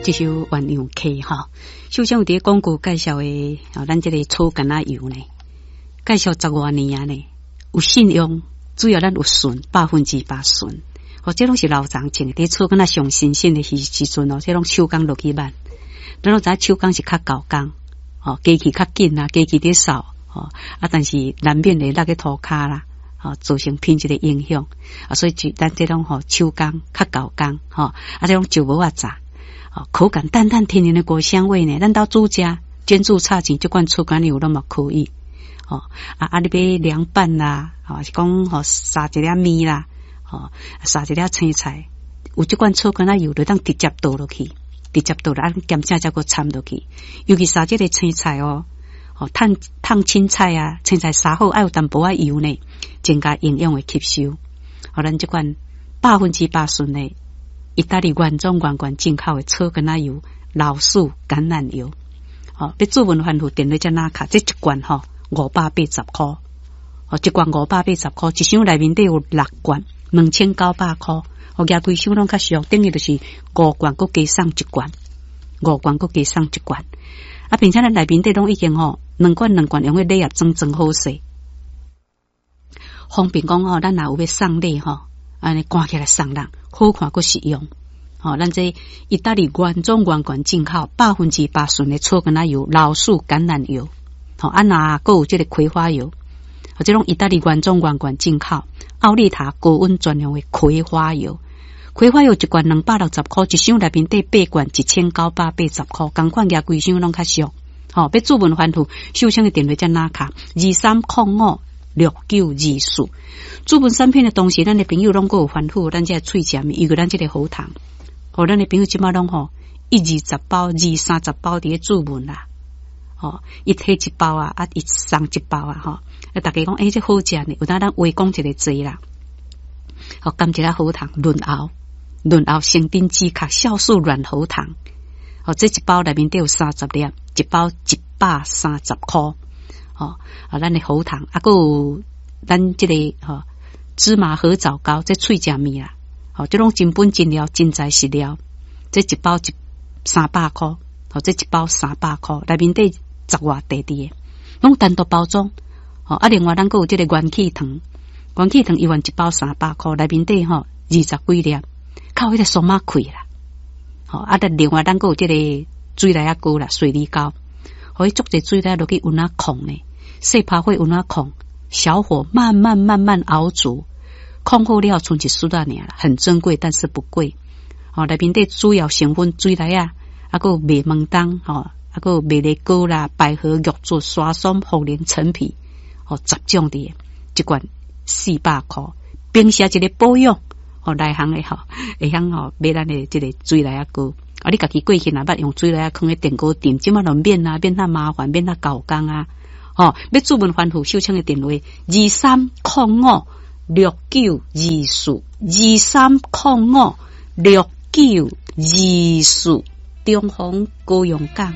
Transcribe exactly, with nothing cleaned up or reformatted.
這首鴛鴦溪吼，首先有佇廣告介紹的，哦，咱這个草柑仔油呢，介紹十外年啊呢，有信用，主要咱有純，百分之百純。哦，這攏是老人種的，佇草柑仔上新鮮的時時陣哦，這攏手工落去挽。咱攏知影手工是較厚工，哦，機器較緊啊，機器佇掃，吼啊，但是難免會落去塗跤啦，吼，造成品質的影響。啊，所以就咱這種吼手工較厚工，吼啊，這種石磨仔榨。口感淡淡甜甜的果香味呢，咱兜煮食煎煮炒煎，這款草柑油攏嘛可以。哦，啊啊，你欲涼拌啦，吼是講吼撒一粒麵啦，吼撒一粒青菜，有這款草柑仔油就當直接倒落去，直接倒落啊，鹹正才閣摻落去。尤其撒這个青菜哦，哦燙燙青菜啊，青菜撒好愛有淡薄仔油呢，增加營養的吸收。予咱這款百分之百純的意大利原裝原罐進口的草柑仔油、老樹橄欖油，吼，欲注文番附電話才哪卡？這一罐吼五百八十箍，哦，一罐五百八十箍，一箱內面底有六罐，兩千九百箍，哦，舉規箱攏較俗，等於就是五罐，閣加送一罐，五罐閣加送一罐。啊，並且咱內面底攏已經吼兩罐兩罐用彼禮盒裝裝好勢，方便講吼，咱若有欲送禮吼，按呢掛起來送人，好看閣實用。吼，咱這意大利原裝原罐進口百分之百純的草柑仔油、老樹橄欖油，吼，啊若閣有這个葵花油，這種意大利原裝原罐進口奧利塔高溫專用的葵花油，葵花油一罐兩百六十箍，一箱內面底八罐一千九百八十箍，仝款舉規箱攏較俗。吼，欲注文番附，秀清的電話才哪卡二三空五六九二四。注文產品的同時，咱的朋友攏閣有煩惱，咱這喙食物，尤其咱這个喉糖，吼，咱的朋友這擺攏吼一二十包、二三十包佇咧注文啦，吼，伊提一包啊，啊，伊送一包啊，吼，啊，大家講，欸，這好食呢，有當咱話講一个濟啦，好，甘一下喉糖潤喉，潤喉生津止渴酵素軟喉糖，吼，這一包內面底有三十粒，一包一百三十箍，吼，啊，咱的喉糖，啊，閣有咱這个吼芝麻褐藻膏，這喙食物啦，吼，這攏真本真料，真材實料，這一包一三百箍，吼，這一包三百箍，內面底十外塊佇的，攏單獨包裝，吼，啊，另外咱閣有這个元氣糖，元氣糖一萬一包三百箍，內面底吼二十幾粒，較有彼个鬆仔氣啦，吼，啊，另外咱閣有這个水梨仔膏啦，水梨膏，予伊足濟水梨落去溫仔控呢，細拍火溫仔控，小火慢慢慢慢熬煮，控好了賰一絲仔爾啦，很珍貴，但是不貴。吼，內面底主要成分水梨仔，啊，閣有麥門冬，吼，啊，閣有麥梨膏啦、百合、玉竹、沙松、茯苓、陳皮，吼，十種佇，一罐四百箍。平時一个保養，吼，內行的吼，會曉吼買咱的這个水梨仔膏。啊，你家己過去若捌用水梨仔囥咧電鍋炖，這擺就免啊，免遐麻煩，免遐厚工啊。吼，欲注文番附秀清的電話二三空五六九二四二三空五六九二四，中風高雄港。